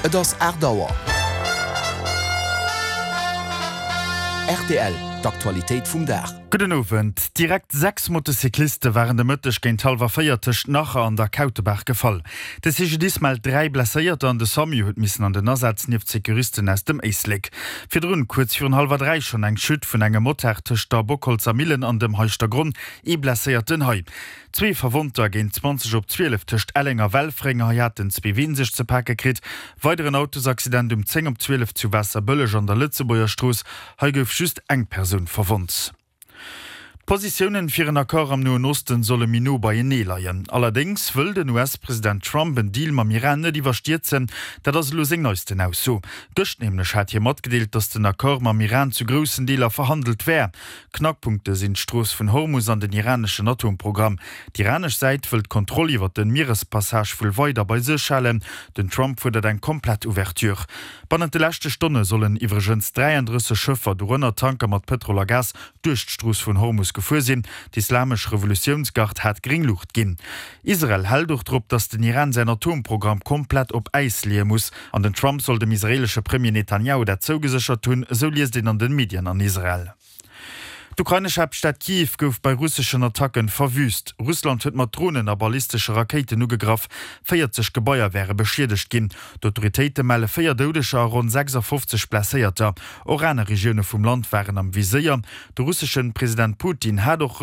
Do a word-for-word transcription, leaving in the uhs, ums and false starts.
Et ass aacht Auer. Rtl, D'Aktualitéit vum Dag. Gudden Owend. Direkt sechs Motocycliste waren de Mëtteg géint hallwer véier tëscht Nacher an der Kautebaach gefall. De C G D I S mellt dräi Blesséierter an de SAMU huet missen an den Asaz nieft Securisten aus dem Éislek. Virdrun, kuerz virun hallwer dräi schonn eng Chute vun engem Motard tëscht der Bockholzer Millen an dem Heischtergronn, ee Blesséierten hei. Zwee Verwonnter géint zwanzeg op zwielef tëscht Elleng a Welfréng, hei haten zwee Ween sech ze pake kritt. Weideren Autosaccident um zéng op zwielef zu Waasserbëlleg an der Lëtzebuerger Strooss, hei gouf just eng Persoun verwonnt. D'Positiounen fir en Accord am Noen Osten solle méi no beienee leien. Allerdéngs wëll den U S-President Trump en Deal mam Iran net iwwerstierzen. Dat ass elo seng neisten Ausso. Gëscht nämlech hat hie matgedeelt, datt den Accord mam Iran zu groussen Deeler verhandelt wär. Knackpunkte sinn d'Strooss vun Hormus an den iraneschen Atomprogramm. D'iranesch Säit wëll d'Kontroll iwwer de Mierespassage wuel weider bei sech halen. Den Trump fuerdert eng komplett Ouverture. Bannent de leschte Stonne sollen iwwregens dräiandrësseg Schëffer, dorënner Tanker mat Pëtrol a Gas, duerch d'Strooss vun Hormus gefuer sinn. D'Islamesch Revolutiounsgard hat gréng Luucht ginn. Israel hält och drop, datt den Iran säin Atomprogramm komplett op Äis leeë muss. An den Trump soll dem israeelesche Premier Netanjahu dat zougeséchert hunn, esou liest een an den Medien an Israel. D'ukrainesch Haaptstad Kiew gouf bei russeschen Attacken verwüüst. Russland huet mat Dronen a ballistesche Rakéiten ugegraff. véierzeg Gebaier wäre beschiedegt ginn. D'Autoritéite melle véier Doudeger a ronn sechsafofzeg Blesséierter. Och aner Regioune vum Land waren am Viséier. De russesche President Putin hat och